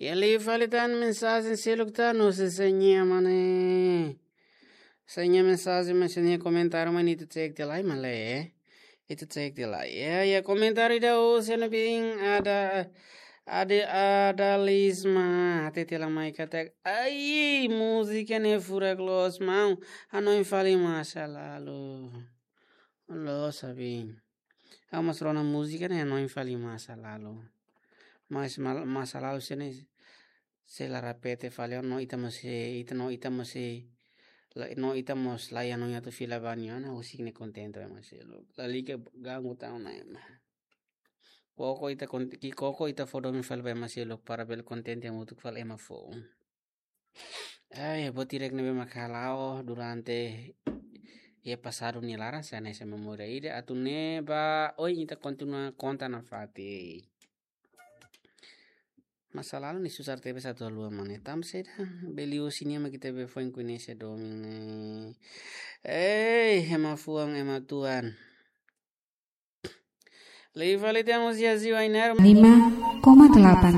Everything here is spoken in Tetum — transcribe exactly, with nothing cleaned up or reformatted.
Iha liu fali tan mensajen seluk tan, no se seña mane. Seña mensajen, mas seña komentáriu, mas ita cek tiha lai, male. Ita cek tiha lai. Ya, ya, komentáriu ida o sena bin ada, ada, ada lisma. Hatete la mai katak, ai, múzika ne'e furak loos maun. Hanoin fali masa lalu. Loos, sabi. Ha'u mós rona múzika ne'e hanoin fali masa lalu. Mas mal-, masa lalu sira-ne'e sei la repete fali, no ita mós sei, ita no ita mós sei, la, no ita mós la iha no atu fila ba nia ona, husik ne'e kontente ba ema seluk. Lalika ganggu tan ona ema. Koko ita kon-, ki'ik koko ita fó domin fali ba ema seluk para bele kontente hamutuk fali ema foun. Ai, buat hirak ne'ebé mak hala'o durante iha pasadu nia laran, sei hanesan memória ida, atu ne'e ba, oi, ita kontinua konta nafatin. Masa lalu ne'e susar tebes atu haluha mane. Tanba saida, beli o sinia mak ita be foin koñese domin ne'e. Ei, ema fuan, ema tuan. Liu fali temos Yazio Ainaro. Lima koma delapan.